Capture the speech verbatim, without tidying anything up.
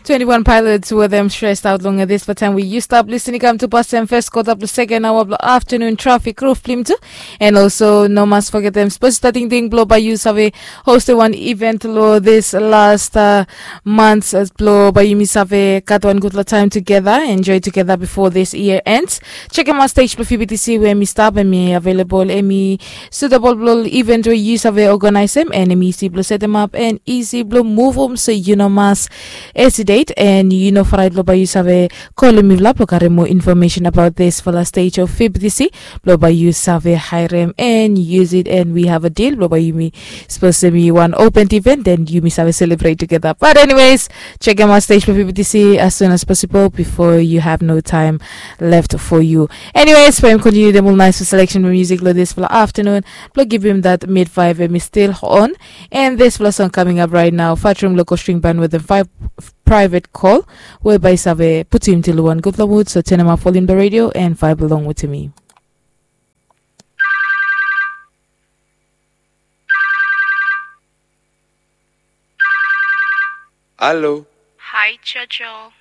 Twenty-one pilots were them stressed out long at this for time we used up listening come to past them first quarter plus second hour of the afternoon traffic roof blim too. And also no must forget them supposed to starting thing blow by you save hosted one event lo this last uh, months as blow by you miss have got one good time together enjoy together before this year ends. Check out my stage for F B T C where mi stop and mi available and mi suitable blow event where you save organize them and mi easy blow set them up and easy blow move them so you know mass hesitate and you know fried lo by you save call me vlap lo kare more information about this for the stage of F B T C. Lo by you save hire them and use it and we have a deal lo by you mi supposed to be one open event then you mi save celebrate together but anyways check out my stage for F B T C as soon as possible before you have no time left for you. Anyways for him continue them all nice for selection for music lo this for the afternoon. Lo give him that mid five and mi still on and this for the song coming up right now Fatrum Local String Band with the five private call whereby save put him till one good mood so turn him up volume the radio and vibe along with me. Hello. Hi, Jojo.